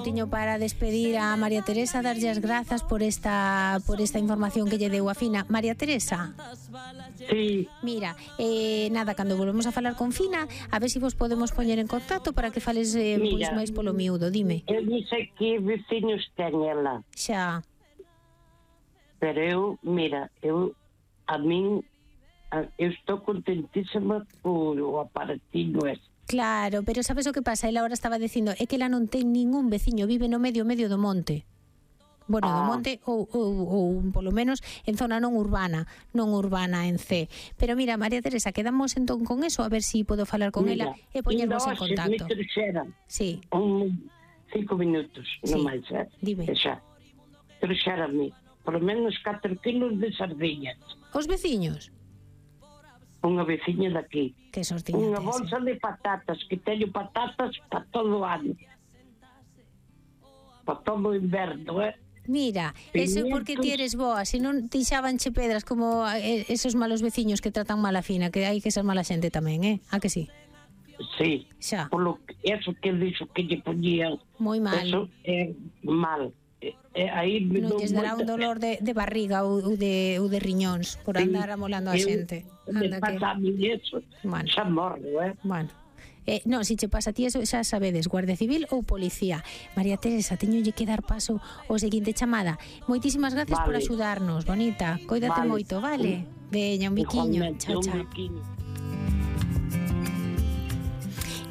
minutiño para despedir a María Teresa, darlle as grazas por esta información que lle deu a Fina. María Teresa. Sí. Mira, nada, cando volvemos a falar con Fina, a ver se vos podemos poñer en contacto para que fales pois máis polo miúdo, dime. Eu dixo que veciños ten ela. Xa. Pero eu estou contentísima por o aparatillo ese. Claro, pero sabes o que pasa? Ela agora estaba dicindo, é que ela non ten ningún veciño, vive no medio do monte. Bueno, do monte ou polo menos en zona non urbana en C. Pero mira, María Teresa, quedamos entón con eso, a ver si podo falar con ela e poñernos en contacto. Sí. 5 minutos, non máis, dime. Xa. Trouxérame por menos 4 kilos de sardiñas. Os veciños? Unha veciña daqui. Que sortiña. Unha bolsa de patatas, que teño patatas para todo o ano. Para todo o inverno, Mira, eso é porque ti eres boa, se non tixabanche pedras como esos malos veciños que tratan mal a Fina, que hai que ser mala xente tamén, a que sí? Sí, xa. Eso que dixo que lle poñían. Moi mal. Eso é mal. Aí non lles dará un dolor de barriga ou de riñóns por andar amolando a xente. Me pasa a mí eso, xa morro, Bueno, non, se che pasa a ti eso xa sabedes, Guardia Civil ou Policía. María Teresa, teñolle que dar paso ao seguinte chamada. Moitísimas gracias por axudarnos, bonita. Coídate moito, vale? Veña, un biquiño. Chao, chao.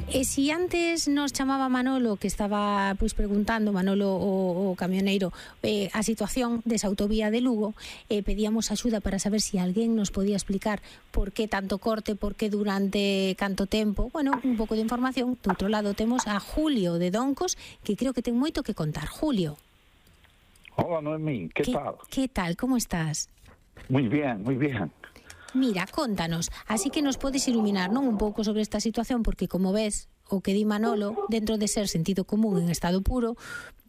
E si antes nos chamaba Manolo, que estaba pois preguntando, Manolo o camioneiro, a situación desa autovía de Lugo, pedíamos axuda para saber se alguén nos podía explicar por que tanto corte, por que durante canto tempo. Bueno, un pouco de información. Do outro lado temos a Julio de Doncos, que creo que ten moito que contar. Julio. Hola, Noemí, ¿qué tal? ¿Qué tal? ¿Cómo estás? Muy bien, muy bien. Mira, contanos, así que nos podes iluminar, non, un pouco sobre esta situación, porque como ves, o que di Manolo, dentro de ser sentido común en estado puro,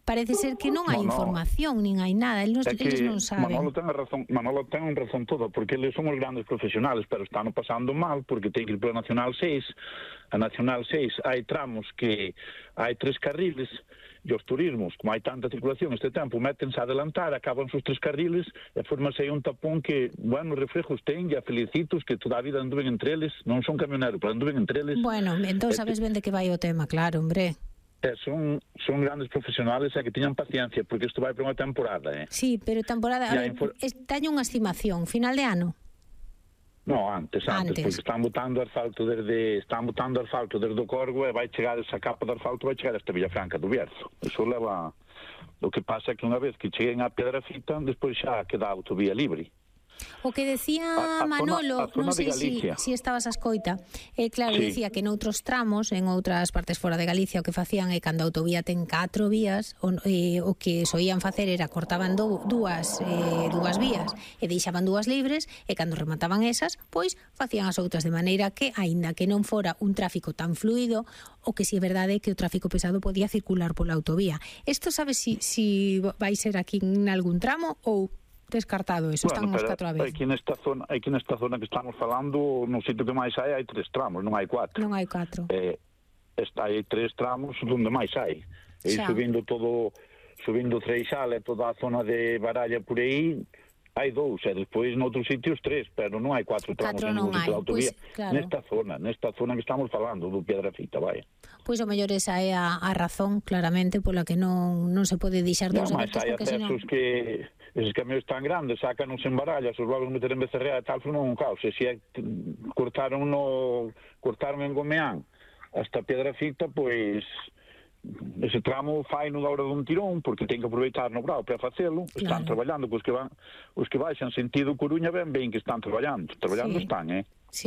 parece ser que non hai información, nin hai nada, eles non saben. Manolo ten razón toda, porque eles son os grandes profesionales, pero están pasando mal, porque ten que ir pola Nacional 6, a Nacional 6 hai tramos que hai 3 carriles, e os turismos, como hai tanta circulación este tempo, métense a adelantar, acaban os 3 carriles e formanse aí un tapón que, bueno, reflejos ten, e a felicitos que toda a vida anduven entre eles, non son camioneros, pero anduven entre eles. Bueno, entón sabes ben de que vai o tema, claro, hombre. Son grandes profesionales e que tiñan paciencia, porque isto vai para unha temporada, Sí, pero temporada, teño unha estimación, final de ano? No, antes, porque están botando asfalto desde o Corgo e vai chegar esa capa de asfalto, vai chegar hasta Villafranca do Bierzo. Eso leva... O que pasa é que unha vez que cheguen a Piedrafita, despois xa queda a autovía libre. O que decía Manolo, non sei se estabas a escoita, claro, decía que noutros tramos, en outras partes fora de Galicia, o que facían é cando a autovía ten 4 vías, o que soían facer era cortaban dúas vías e deixaban 2 libres, e cando remataban esas, pois facían as outras, de maneira que, aínda que non fora un tráfico tan fluido, o que si é verdade é que o tráfico pesado podía circular pola autovía. Isto sabes si vai ser aquí en algún tramo ou descartado eso? Están os 4 a vez. Aquí nesta zona que estamos falando, no sitio que máis hai 3 tramos, non hai 4. Non hai 4. Hai 3 tramos onde máis hai. E subindo Treixal e toda a zona de Baralla por aí, hai 2, e despois noutros sitios 3, pero non hai 4 tramos en un sitio de autovía. Nesta zona que estamos falando, do Piedrafita, vai. Pois o mellor esa é a razón, claramente, pola que non se pode deixar dos abertos, porque senón... Eses camións tan grandes, sácanos en Barallas, os vagos meter en Becerrea e tal, foi un caos. E se cortaron en Gomeán hasta Piedrafita, pois ese tramo fai no da hora dun tirón, porque ten que aproveitar no brao para facelo. Están traballando, os que baixan sentido Coruña ben que están traballando, están,